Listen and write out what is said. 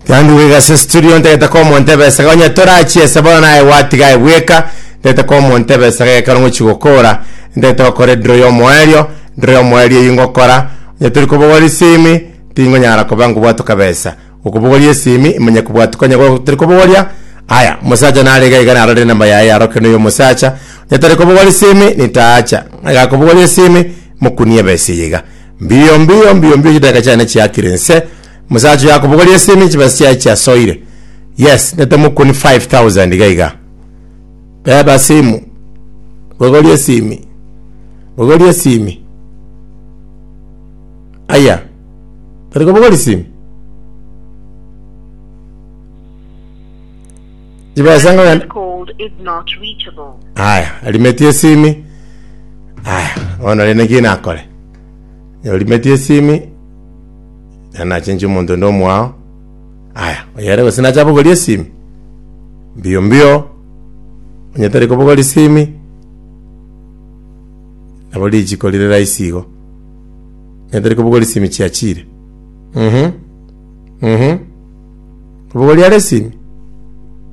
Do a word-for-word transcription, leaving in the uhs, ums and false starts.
Tianduge gase studio ntagete komontebesa onye torachiesa bono naye gwatiga ebweka ntagete komontebesa gekero ngochi gokora ntagete gokora edraw ya omoerio draw ya omoerio eywo ngokora onye tori kobogora esimi tingonyara koba nkobwatoka besa okobogoria esimi imanye kobwatoka onye go- tori kobogoria aya omosacha nare iga iga narorire enamba yaye yaroke noyo omosacha onye tari kobogoria esimi nitaacha agakobogoria esimi mokunie ebesa eye iga mbio mbio mbio mbio chidakika chiane chiakire nse musacha oyo akobogoria esimi chibesa chiaye chiasoire yes ndete mokuni five thousand iga iga beba simu bogoria esimi bogoria esimi aya tari kobogoria esimi chibesa ngogenda This call is not reachable. aya arimetie esimi aya bono rende naki nakore orimetie esimi nachenchi omonto onde omwao aya oyere gose nacha abogorie esimi mbio mbio onye tari kobogoria esimi nabo richiko rire rahisi igo onye tari kobogoria esimi chiachire mhm mhm kobogoria are esimi